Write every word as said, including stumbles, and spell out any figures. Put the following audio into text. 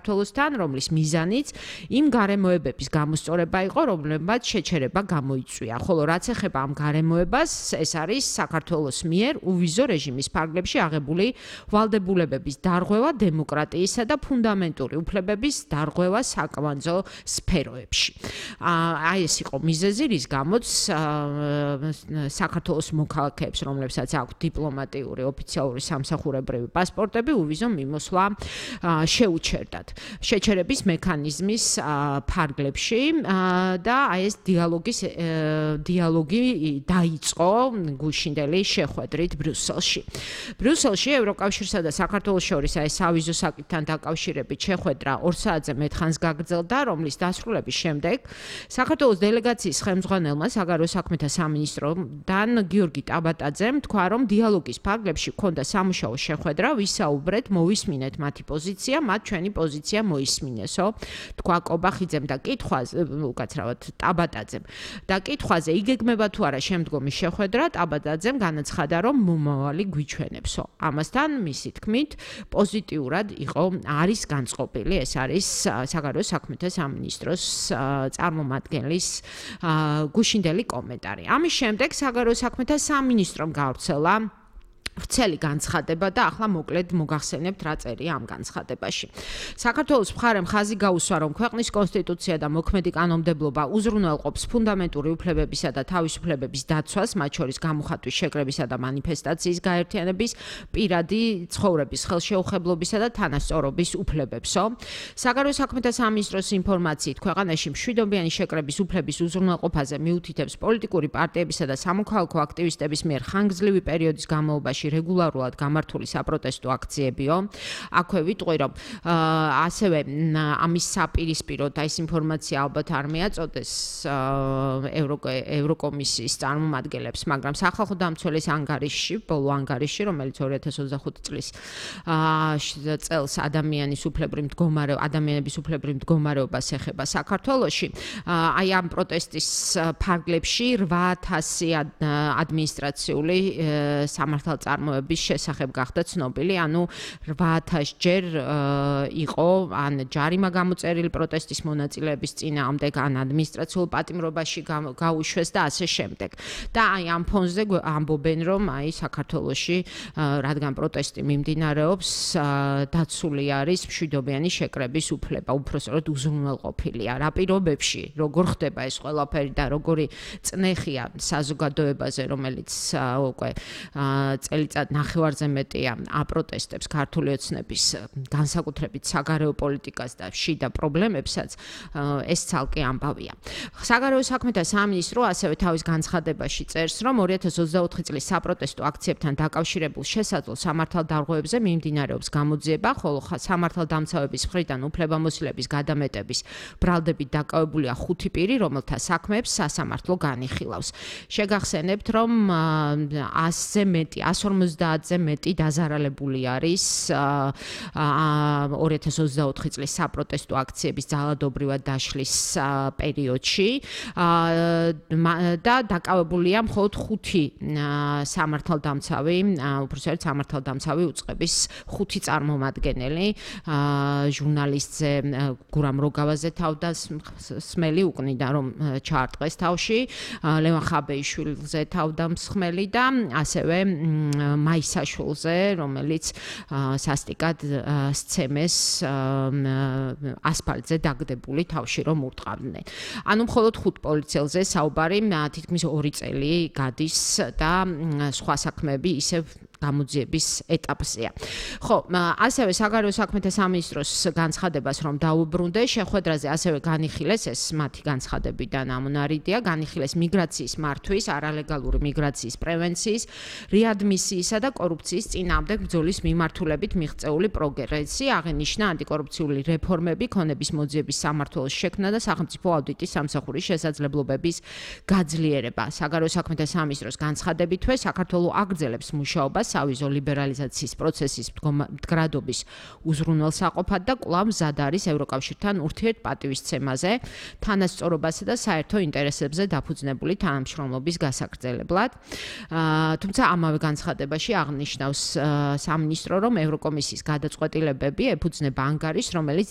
საქართველოსთან, რომლის მიზანიც იმ გარემოებების გამოსწორება იყო, რომლებმაც შეჩერება გამოიწვია. ხოლო რაც ეხება ამ გარემოებას, ეს არის საქართველოს მიერ უვიზო რეჟიმის ფარგლებში აღებული ვალდებულებების დარღვევა დემოკრატიისა და ფუნდამენტური უფლებების დარღვევა საკვანძო სფეროებში. აი ეს იყო მიზეზი, რის გამოც საქართველოს მოქალაქეებს, რომლებსაც აქვთ დიპლომატიური ოფიციალური სამსახურებრივი პასპორტები, უვიზო მიმოსვლა შეუჩერდათ. შეჩერების მექანიზმის ფარგლებში და აი ეს დიალოგის დიალოგი დაიწყო გუშინდელი შეხვედრით ბრიუსელში. ბრიუსელში ევროკავშირსა და საქართველოს შორის აი სავიზო საკითხთან დაკავშირებით შეხვედრა ორ საათზე მეტ ხანს გაგრძელდა, რომლის დასრულების შემდეგ საქართველოს დელეგაციის ხელმძღვანელმა საგარეო საქმეთა სამინისტროდან გიორგი ტაბატაძემ თქვა, რომ დიალოგის ფარგლებში ჰქონდა სამუშაო შეხვედრა, ვისაუბრეთ, მოვისმინეთ მათი პოზიცია, მათ ჩვენი პოზიცია მოისმინესო. თქვა კობახიძემ და კითხვაზე, უკაცრავად ტაბატაძემ. და კითხვაზე იგეგმება თუ არა შემდგომი შეხვედრა, ტაბატაძემ განაცხადა, რომ მომავალი გვიჩვენებსო. ამასთან მისი თქმით, პოზიტიურად იყო არის განწყობილი, ეს არის საგარეო საქმეთა სამინისტროს წარმომადგენლის გუშინდელი კომენტარი. ამის შემდეგ საგარეო საქმეთა სამინისტრომ გავრცელა ვრცელი განცხადება და ახლა მოკლედ მოგახსენებთ რა წერია ამ განცხადებაში. საქართველოს მხარემ ხაზი გაუსვა, რომ ქვეყნის კონსტიტუცია და მოქმედი კანონმდებლობა უზრუნველყოფს ფუნდამენტური უფლებებისა და თავისუფლებების დაცვას, მათ შორის გამოხატვის, შეკრებისა და მანიფესტაციის გაერთიანების, პირადი ცხოვრების ხელშეუხებლობისა და თანასწორობის უფლებებსო. საგარეო საქმეთა სამინისტროს ინფორმაციით, ქვეყანაში მშვიდობიანი შეკრების უფლების უზრუნველყოფაზე მიუთითებს პოლიტიკური პარტიებისა და სამოქალაქო აქტივისტების მიერ ხანგრძლივი პერიოდის განმავლობაში რეგულარულად გამართული საპროტესტო აქციებიო. აქვე ვიტყვი, რომ ასევე ამის საპირისპიროდ აი ეს ინფორმაცია ალბათ არ მეაწოდეს ევროკომისიის წარმომადგენლებს, მაგრამ სახალხო დამცველის ანგარიშში, ბოლო ანგარიშში, რომელიც ორი ათას ოცდახუთი წლის წელს ადამიანის უფლებრივ მდგომარეობა, ადამიანების უფლებრივ მდგომარეობას ეხება საქართველოში, აი ამ პროტესტის ფარგლებში რვა ათასი ადმინისტრაციული სამართალ წარმოების შესახებ გახდა ცნობილი, ანუ რვა ათას ჯერ იყო ან ჯარიმა გამოწერილი პროტესტის მონაწილეების წინააღმდეგ, ან ადმინისტრაციულ პატიმრობაში გაუშვეს და ასე შემდეგ. და აი ამ ფონზე ამბობენ, რომ აი საქართველოში, რადგან პროტესტი მიმდინარეობს, დაცული არის მშვიდობიანი შეკრების უფლება, უпроსტოდ უზრუნველყოფილია. რა პირობებში, როგორ ხდება ეს ყველაფერი და როგორი წნეხია საზოგადოებაზე, რომელიც უკვე წელიწად ნახევარზე მეტია აპროტესტებს ქართული ოცნების, განსაკუთრებით საგარეო პოლიტიკას და შიდა პრობლემებსაც, ეს ცალკე ამბავია. საგარეო საქმეთა სამინისტრო ასევე თავის განცხადებაში წერს, რომ ორი ათას ოცდაოთხი წლის საპროტესტო აქციებთან დაკავშირებულ შესაძლო სამართალდარღვევებზე მიმდინარეობს გამოძიება, ხოლო სამართალდამცავების მხრიდან უფლებამოსილების გადამეტების ბრალდებით დაკავებულია ხუთი პირი, რომელთა საქმეებს სასამართლო განიხილავს. შეგახსენებთ, რომ ასზე მეტი, ასს ორმოცდაათზე მეტი დაზარალებული არის ორი ათას ოცდაოთხი წლის საპროტესტო აქციების ძალადობრივად დაშლის პერიოდში და დაკავებულია მხოლოდ ხუთი სამართალდამცავი, უпроსტოდ სამართალდამცავი უწყების ხუთი წარმომადგენელი, ჟურნალისტზე გურამ როგავაზე თავდამსხმელი უკნიდა, რომ ჩაარტყეს თავში, ლევან ხაბეიშვილზე თავდამსხმელი და ასევე მაისაშვილზე, რომელიც სასტიკად სცემეს ასფალტზე დაგდებული თავში რომ ურტყავდნენ. ანუ მხოლოდ ხუთ პოლიციელზე საუბარი, თითქმის ორი წელი გადის და სხვა საქმეები ისევ გამოძიების ეტაპზეა. ხო, ასევე საგარეო საქმეთა სამინისტროს განცხადებას რომ დაუბრუნდე, შეხვედრაზე ასევე განიხილეს, ეს მათი განცხადებიდან ამონარიდია, განიხილეს მიგრაციის მართვის, არალეგალური მიგრაციის პრევენციის, რეადმისიისა და კორუფციის წინააღმდეგ ბრძოლის მიმართულებით მიღწეული პროგრესი, აღინიშნა ანტიკორუფციული რეფორმები, ქონების მოძიების სამმართველოს შექმნა და სახელმწიფო აუდიტის სამსახურის შესაძლებლობების გაძლიერება. საგარეო საქმეთა სამინისტროს განცხადებითვე, საქართველო აგრძელებს მუშაობას სავიზო ლიბერალიზაციის პროცესის მდგრადობის უზრუნველსაყოფად და კვლავ მზად არის ევროკავშირთან ურთიერთპატივისცემაზე, თანასწორობასა და საერთო ინტერესებზე დაფუძნებული თანამშრომლობის გასაგრძელებლად. თუმცა ამავე განცხადებაში აღნიშნავს სამინისტრო, რომ ევროკომისიის გადაწყვეტილებები ეფუძნება ანგარიშს, რომელიც